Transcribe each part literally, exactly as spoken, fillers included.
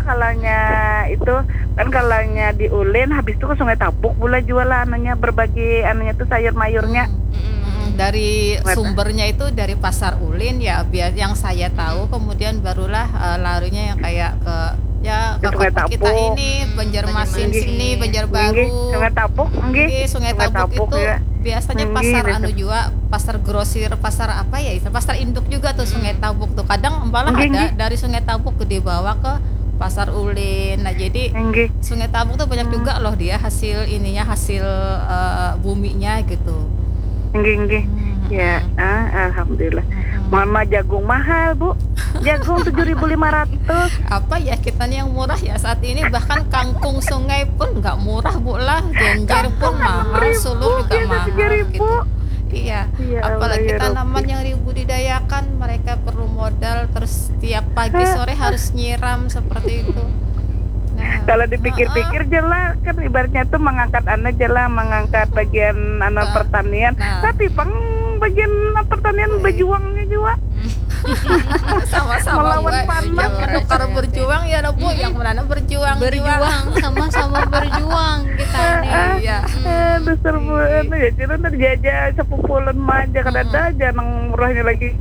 Kalanya itu kan, kalanya di Ulin, habis itu ke Sungai Tabuk pula jual lah anunya, berbagi anunya tuh sayur mayurnya. Mm, dari Sungai Ta- sumbernya itu dari Pasar Ulin ya, biar yang saya tahu, kemudian barulah eh, larinya yang kayak ke ya ke Ke Sungai kota kita Tabuk. ini, Banjarmasin Banjarmasin. Sini, Nggih, Banjarbaru. Sungai Tabuk, nggih. Nggih, Sungai Tabuk itu Ya. biasanya Nggih, pasar betul. Anu juga, pasar grosir, pasar apa ya, istilah pasar induk juga tuh Sungai Tabuk tuh. Kadang malah Nggih, ada nggih. Dari Sungai Tabuk gede bawa ke Pasar Ulin. Nah, jadi Nggih. Sungai Tabuk tuh banyak juga loh dia hasil ininya, hasil eh, buminya gitu. Nggih, nggih. Hmm, Ya, ah, alhamdulillah. Mama, jagung mahal, Bu. Jagung tujuh ribu lima ratus. Apa ya, kita nih yang murah ya saat ini, bahkan kangkung sungai pun nggak murah, Bu, lah. Genjer pun mahal, Ribu, suluh juga biasa mahal tiga ribu. Gitu. Iya. Ya Allah, Apalagi ya Rabbi. Tanaman yang ribu didayakan, mereka perlu modal, terus tiap pagi sore harus nyiram seperti itu. Nah, Kalau dipikir-pikir je lah, kan ibaratnya tuh mengangkat anu je lah, mengangkat bagian anu Nah. Pertanian. Nah. Tapi pang bagian pertanian berjuangnya juga. Sama-sama Melawan buat panas. Yang menukar berjuang ya, Bu, yang menanam berjuang juga. Berjuang, sama-sama berjuang kita ini. Iya. Eh, dasar bulan ya, jadi terjajah sepupulan aja, kada ada aja nang murahnya lagi.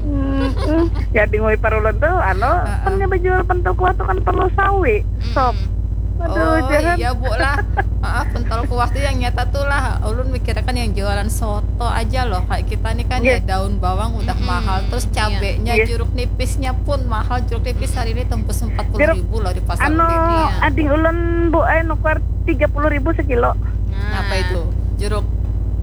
Hmm, hmm. Ya, di ngui parulan tuh, anu, kan nya bajual pentol kuah tuh kan perlu sawi, sop. Aduh, Oh jangan. Iya, Bu, lah. Ah, pentol kuah tuh yang nyata tuh lah. Ulun mikirnya kan yang jualan soto aja loh. Kayak kita nih kan ya, Iya. Daun bawang udah mahal. Terus cabenya, Iya. Jeruk nipisnya pun mahal. Jeruk nipis hari ini tembus empat puluh ribu loh di pasar Anu, Ulin. ading ulun, Bu, eh, nukar tiga puluh ribu sekilo. Apa itu? Jeruk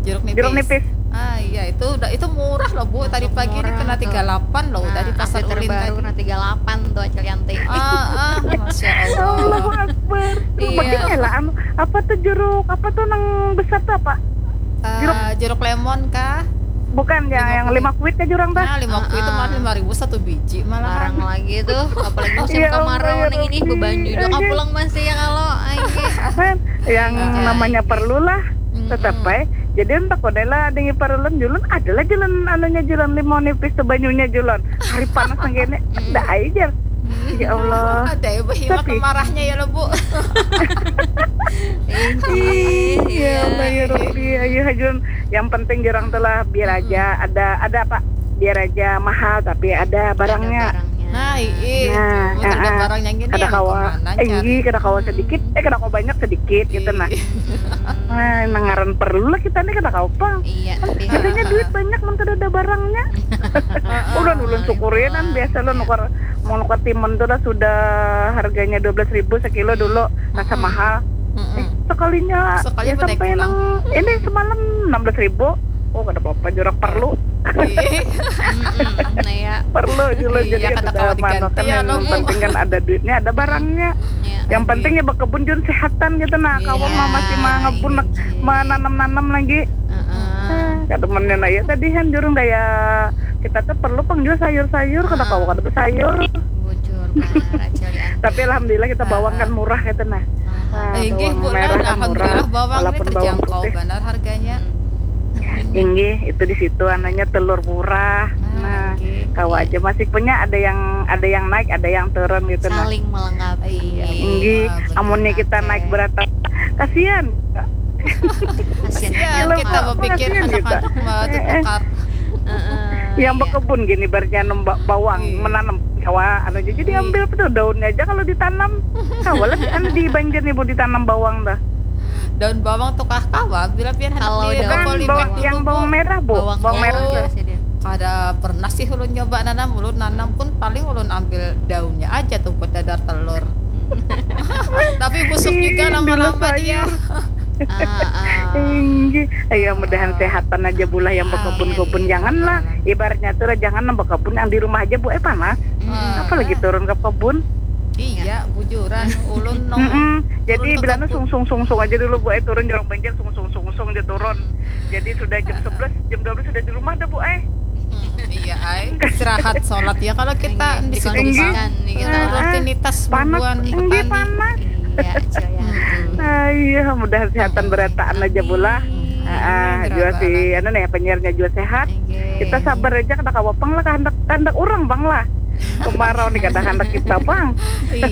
jeruk nipis. Jeruk nipis. Ah iya, itu udah, itu murah loh, Bu. Tadi pagi ini Murah kena tuh. tiga delapan loh, udah di Nah, pasar update Ulin terbaru tadi. Kena tiga delapan tuh, Acil Yanti. Ah, ah, Masya Allah. Allahu Akbar. Iya. Begini lah, anu, apa tuh jeruk, apa tuh nang besar tuh apa? Eh, jeruk lemon kah? Bukan, yang, yang lima kuit kah jurang tah? Nah, lima kuit itu malah lima ribu satu biji malahan. Larang lagi tuh, apalagi musim Ya Allah, kemarau ya nih, ini Rabbi. bebanyu juga Oke. pulang masih ya kalau. Ayo. Kan, yang namanya perlu lah, tetap baik. Jadi entah kau lah, ada yang paralon julun, adalah jalan anunya, jalan limau nipis tuh, banyunya julun. Hari panas nang kene, ada aja. Ya Allah. Ada ya, Bu, hilang Tapi- kemarahnya ya lo, Bu. Iya, Allah ya Rabbi, ayo hajun. Yang penting jarang tuh lah, biar aja ada, ada apa? Biar aja mahal tapi ada barangnya. Ada barangnya. Nah, iya. Nah, Terus ada ah, barang yang gini kada yang kawa, kemana eh, cari? Iya, kada kawa sedikit, eh, kada kawa banyak, sedikit gitu nah. Iya. Nah, nang ngaran perlu lah kita nih, kada kawa pang. Iya, tapi Adanya duit banyak mun kada ada barangnya. Ulun, ulun syukuri kan, biasa lo nukar, mau nukar timun tuh lah sudah harganya dua belas ribu sekilo dulu, rasa mahal. Mm-mm. Eh, sekalinya Sekali ya pendek sampai pulang. Nang ini semalam enam belas ribu. Oh, kada apa-apa, jurak perlu. Iya. Mm-mm, nah ya. Perlu juga. Iya, Jadi kada kada kawa mano diganti kan, ya, yang lo. penting kan ada duitnya, ada barangnya. Iya. Yang penting ya bekebun jun sehatan gitu nah. Kawan Iya, mah masih mangabun, iya. Menanam-nanam lagi. Heeh. Eh, kada menen aja tadi kan jurung daya, kita tuh perlu pang jua sayur-sayur, kada kawa kada besayur. Bujur banar, Acil Yanti. Tapi alhamdulillah kita bawang kan murah gitu nah. Nah, Eh, inggih, bawang Bu, lah, merah kan murah, alhamdulillah bawang ini walaupun bawang terjangkau putih. Benar harganya. Inggih, itu di situ ananya telur murah. Nah, Oke. Kawa aja masih punya, ada yang, ada yang naik, ada yang turun gitu nah. Saling melengkapi. Iya. Inggih, Wah, betul amunnya kita banget. Naik berat, kasihan. Kasihan. Ya, Gila, kita Pak, berpikir kasihan kita. anak-anak mau Eh, eh. ditukar. Heeh, Yang iya. Bekebun gini, ibaratnya nem ba- bawang Iya. Menanam, kawa anu aja. Jadi Iya. Ambil tuh daunnya aja kalau ditanam. Kawa lah anu di banjar nih, Bu, ditanam bawang dah. Daun bawang tuh kah kawa? Bila pian hendak Kalau di daun apa, Kan di bawang, yang bawang merah, Bu. Bawang, Bawang merah oh. tuh. Biasa dia. Kada pernah sih ulun nyoba nanam. Ulun nanam pun paling ulun ambil daunnya aja tuh buat dadar telur. Tapi busuk Ih, juga dulu lama-lama sayur. Dia. Ah, ah. Inggih. Ayo mudahan sehatan aja, Bu, lah yang bekebun-kebun. Amin. Janganlah, ibaratnya tuh lah, jangan nang bekebun, yang di rumah aja, Bu, eh panas. Mm-mm. Apalagi turun ke kebun. Iya, bujuran ulun nang Mm-mm. Jadi turun ke bilangnya kebun. Sungsung-sungsung aja dulu, Bu, eh turun jorong banjar, sungsung-sungsung aja turun. Jadi sudah jam sebelas, jam dua belas sudah di rumah dah, Bu, eh. Iya, ai. Istirahat, sholat ya kalau kita Iya, di situ dikondisikan, Pak. gitu. Rutinitas Panas, mingguan inggih, petani. Panas. Iya, Acil Yanti. Ah, iya, mudahan sehatan berataan aja, Bu, lah. Amin. Ah, ah, Amin, juga si Rabbal anu nih, penyiarnya juga sehat. Inggih. Kita sabar aja, kada kawa pang lah, kehendak, kehendak orang pang lah. Kemarau nih kada kehendak kita pang. Iya,